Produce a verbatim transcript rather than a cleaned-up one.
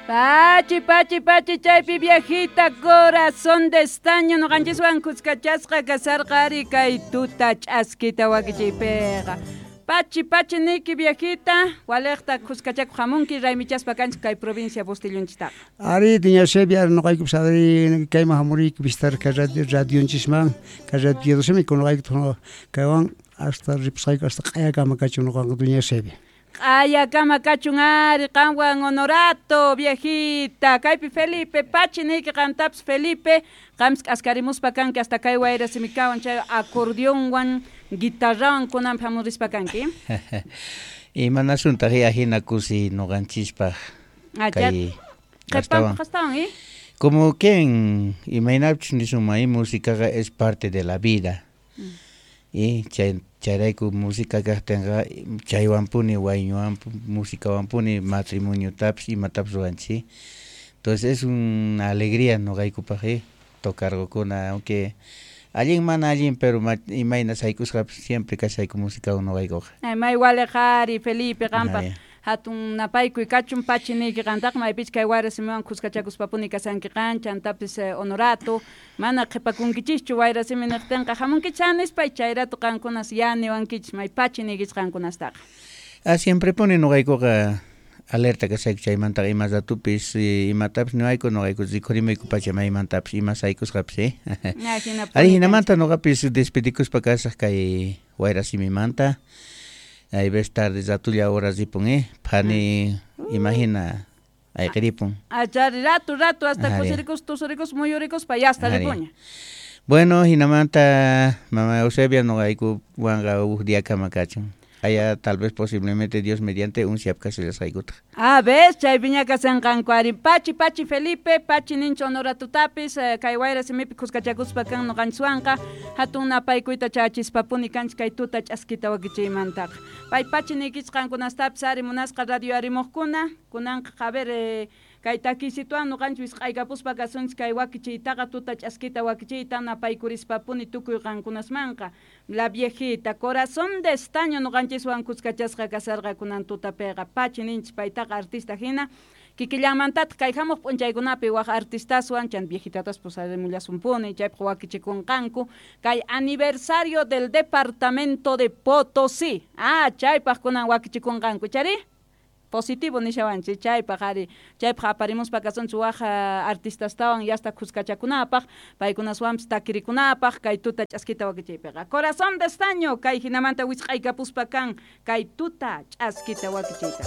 Pachi, pachi, pachi, chaypi viejita, corazón de estaño, noqanchiswan kuskachasqa kasarqa ari kay tuta ch'askita wakichiypiqa. Pachi, pachi niki viejita, waliqta kuskachakuq hamunki raymichaspa kanchik kay provincia Bustillonchistaqa. Ari, doña Eusebia, noqaykupas ari kayman hamuriyku visitar kay radio radionchisman, kay radio simi noqayku kaywan hasta ripusqayku hasta q'ayakama kachun noqanqa doña Eusebia. Q'ayakama kachun ari qanwan Honorato, viejita, kaypi Felipe, pachi niki qantapis Felipe, qampis k'askarimuspa kanki hasta kay wayra simikawan chay acordeonwan guitarrawan kunanpi hamurispa kanki. Imanasuntaq ahina kusi noqanchispaq kay astawan. Qastawan, eh? Como quien imaynapchus nisunman músicaqa es parte de la vida. Mm. Y chay chayrayku música kaqtinqa chaywanpuni wayñuwan musikawanpuni matrimoniotapis imatapis ruwanchik. Entonces es una alegría noqaykupaq eh tocarqukuna aunque allin mana allin pero imayna saykusqapis siempre kashayku musikawan noqaykuqa. May waliq ari Felipe qampaq hatun napaykuy kachun pachi niyki qantaqa maypichus kay wayra simiwan kuskachakuspapuni kasanki qan chantapis Honorato mana qhipakunkichischu wayra simi niqtinqa hamunkichis nispa chayratu qankunas ya niwankichis may pachi niykichis qankunastaqa. Ah, siempre puni noqaykuqa alerta kashayku chaymantaqa ima ratupis imatapis niwayku noqayku rikhurimayku pacha maymantapis ima saykusqapis eh. Ari hinamanta noqapis despedikuspa kasaq kay wayra simimanta. Hay ves tarde ratulla hora ripun eh phani imagina ayqiripun. Achari rato rato hasta kusirikus tusurikus muyurikuspa ya hasta ripuña. Bueno, hinamanta mama Eusebia noqayku wanqa huk diakama kachun. Allá tal vez posiblemente Dios mediante un siapkasillasqaykutaq. Ah, ves, chaypiña kasanqanku ari pachi pachi Felipe, pachi nincho Honoratutapis, kay wayra simipi kuskachakuspa kan noqanchiswanqa, hatun napaykuyta chachispapuni kanchik kay tuta ch'askita wakichiymantaqa. Pay pachi niykichis qankunastapis ari munasqa radio arimuqkuna, kunanqa a ver eh, kay takisituwan noqanchis wisq'aykapuspa kasunchis kay wakichiytaqa tuta ch'askita wakichiyta napaykurispapuni tukuy qankunasmanqa. La viejita, corazón de estaño noqanchiswan kuskachasqa kasarqa kunan tutapiqa pachi ninchis paytaqa artista hina kikillanmantataq kay hamuq p'unchaykunapi waq artistaswan chan viejitatas pusarimullasunpuni chaypaq wakichikunqanku kay aniversario del departamento de Potosí. Ah, chaypaq kunan wakichikunqanku chari positivo nishawanchik chaypaq ari chaypaq aparimuspa kasunchik waq artistastawan yasta kuskachakunapaq paykunaswanpis takirikunapaq kay tuta ch'askita wakichiypiqa. Corazón de estaño kay hinamanta wisq'aykapuspa kan kay tuta ch'askita wakichiyta.